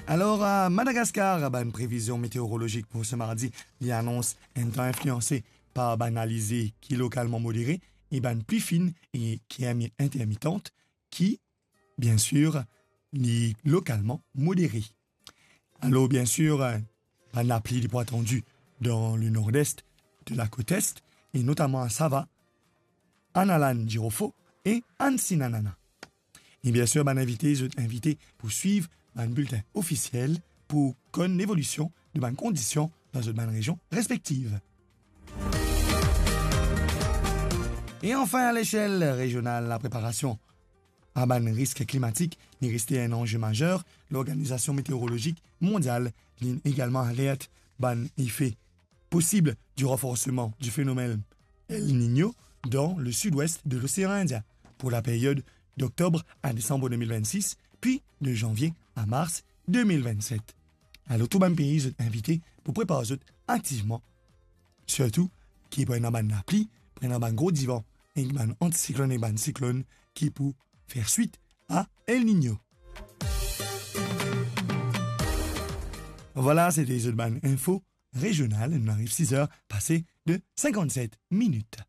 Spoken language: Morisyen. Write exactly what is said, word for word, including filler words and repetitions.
Alor, a Madagaskar, bann previzion meteorolozik pou se mardi, li anons enn tan inflianse par bann alizé ki lokalman modere e bann pli fin e ki inmi-, intermitant, ki, bien sir, li lokalman modere. Alor, bien sir, bann lapli li pou atandi dan le nord-est de la côte est, e notaman a Sava, Analan, Jirofo e Ansinan. E bien sir, bann invite, zot invite pou swiv bann biltin ofisiel pou konn levolision de bann kondision dan zot bann rezion respektiv. E anfin, a lesel rezional, lapreparasion a bann risk klimatik li reste enn anze mazer. Lorganizasion meteorolozik mondial li egalman alert bann efe posib du ranforseman du fenomèn El Niño dan le sid-west de Losean Indien pou la period d'oktob a desanm de mil vennsis, pi de zanvie a mars de mil vennset. Alor, tou bann pei zot invite pou prepar zot aktivman, sirtou ki pou ena bann lapli, pou ena bann gro divan, ek bann antisiklonn ek bann siklonn ki pou fer swit a El Niño. Vwala, sete zot bann info rezional. Nou ariv siz er pase de sinkannset minit.